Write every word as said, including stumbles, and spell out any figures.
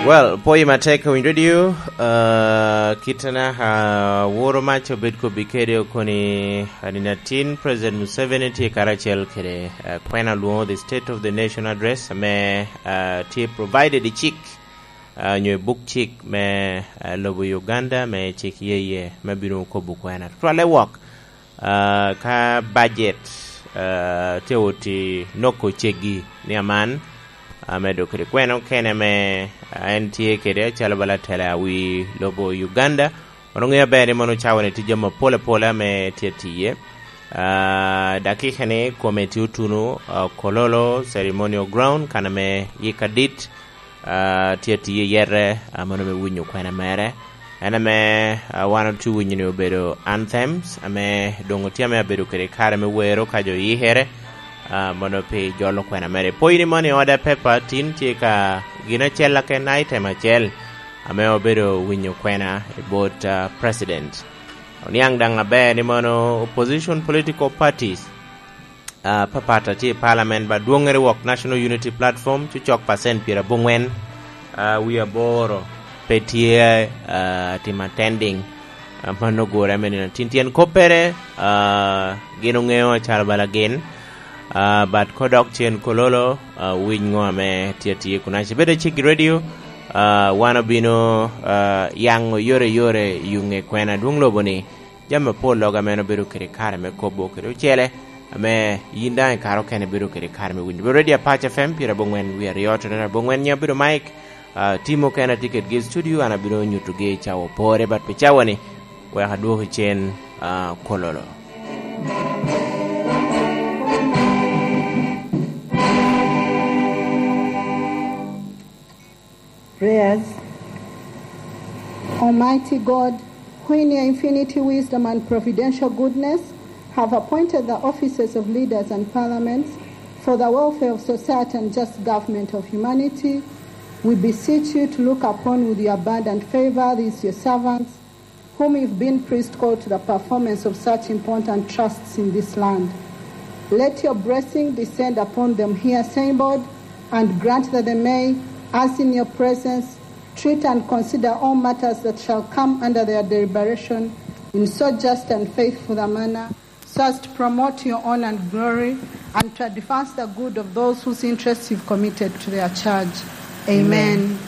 Well, pwoyi matek Winy Radio, uh, kitana, uh, woro mac obed kobbi kede okoni, uh, nino atin President Museveni tye karacel kede, uh, kwena lwoŋo The State of the Nation Address, ame, uh, tye provided i cik, uh, nyo i buk cik me, uh, lobo Uganda, me cik yeye me bino kobo kwena. Tutwalle wok, ah, ka bajet, ah, tye oti noko ceggi ni aman, ah, medo kede kwena okene ame, ah, en tye kede acalo bala tela wi lobo Uganda. Wan oŋeo aber ni mono cawa-ni tye jami apol apola ame tye atiye. Ah, dakika-ni kome tye otuno, ah, Kololo Ceremonial Ground, kan ame yik adit, ah, tye atiye yete, ah, mono me winyo kwena mere. En ame, ah, wan otye winyo ni obedo anthems, ame doŋ otye ame abedo kede kare me wero ka jo yikere, ah, mono pi jolo kwena mere. Pwoyi ni mono i order paper tin tye ka gin acel aken, item acel, ame obedo winyo kwena i bot, ah, president. Oniaŋ daŋ aber ni mono opposition political parties, ah, papat a tye i parliament, ba dwoŋŋere wok National Unity Platform, cucok pacent pyeraboŋwen, ah, wie aboro pe tye, ah, timo attending, ah, mano ogure ame nino tin tyen koppere, ah, gin oŋeo acalo bala gin, ah, but kodok cen Kololo, ah, winy ŋo ame tye atye kunaci. Bedo i Ciggi Radio, ah, wan obino, ah, yaŋo yore yore i yuŋe kwena adwoŋ lobo ni, jami apol loga ame en obedo kede kare me kobo kede ocele, ame yin daŋ i kare okene ibedo kede kare me winyo. Bedo Radio Apac F M, pyeraboŋwen wie aryo, tottere aboŋwen, nyiŋ abedo Mike, ah, tim okene atye kedgi i studio, an abino nyutogi i cawa opore, but pi cawa-ni, wek adwoki cen, ah, Kololo. Prayers. Almighty God, who in your infinity wisdom and providential goodness have appointed the offices of leaders and parliaments for the welfare of society and just government of humanity, we beseech you to look upon with your abundant favor these your servants, whom you've been priest called to the performance of such important trusts in this land. Let your blessing descend upon them here assembled, and grant that they may, as in your presence, treat and consider all matters that shall come under their deliberation in so just and faithful a manner, so as to promote your honor and glory, and to advance the good of those whose interests you've committed to their charge. Amen. Amen.